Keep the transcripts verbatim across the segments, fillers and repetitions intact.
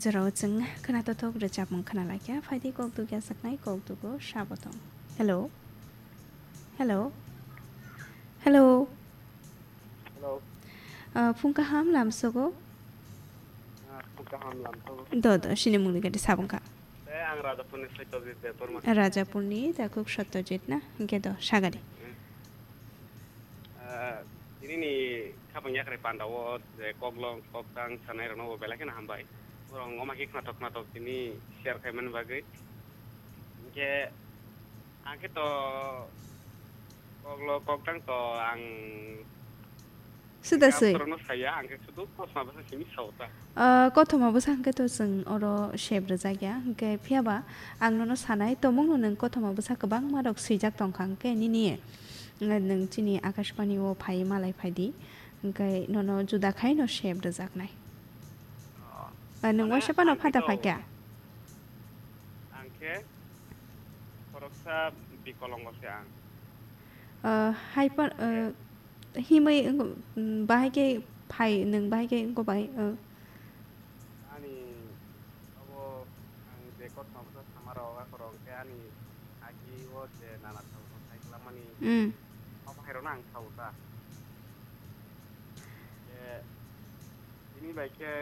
Jora o chwng khwna tothok rwchapmung khwna laikha, phaidi kok dugya saknai kok dugo sabo tong. Hello. Hello. Hello. Hello. Ah, phung kaham lamsogo. Ah, phung kaham lamsogo. Do, do, sini mungni gadi sabung kha. Eh, ang Rajapurni Satyajit Debbarma. Rajapurni takhuk Satyajit na? Hingke do, sagadi. Eh, tini ni khapang yakrai panda o je koklong, koktang sanai rokno bo belai kheno hambai. Borok wngma khe khnatok khnatok tini share khaimani bagwi. Hingke ang khe to koklong, koktang to ang Suda swi. Borokno saya, ang khe sudu kothoma bwsa simi sao ta. Ah, kothoma bwsa hwnkhe to chwng oro sep rwjak ya. Hwnkhe phiya ba ang nono sanai, tomungno nwng kothoma bwsa kwbangma rok swijak tongkha, hwnkhe nini, eh, nwng chini Akashbani o phai malai phai di. Hwnkhe nono juda khai no sep rwjaknai. Oh. Ah, nwng mane waisa phano ang phata khe to phaikha. Ang khe khoroksa bikolongo se ang. Ah, hai pa-, ah, himwi wng-, mm, bahai khe phai, nwng bahai khe wngkha bai, ah. Ani abo ang je kothoma bwsa sama rok, akhoro hwnkhe ani agi o je nana thao thao sai kwlamani, mm, abo hai rokno ang sao ta. Je Tini bai khe,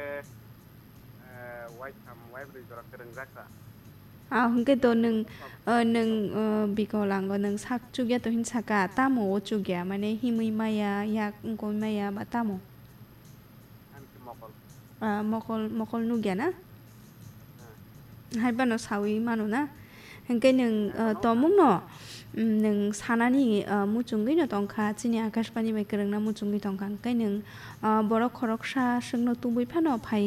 eh, waitham, waibrwi jora kwrwngjak kha. Ah, hwnkhe to nwng, eh, nwng, eh, bikolango nwng sak chukya to hin saka, tamo o chukya, mane himwi maya, yak wngkoi maya ba tamo? Ani khe mokol. Ah, mokol, mokol nukya na? Hai phano sawi mano na? Hwnkhe nwng, ah, tomungno, mm, nwng sanani, ah, muchungwi no tongkha, chini Akashbani bai kwrwngna muchungwi tongkha. Hwnkhe nwng, ah, borok khoroksa swkno tubui phano phai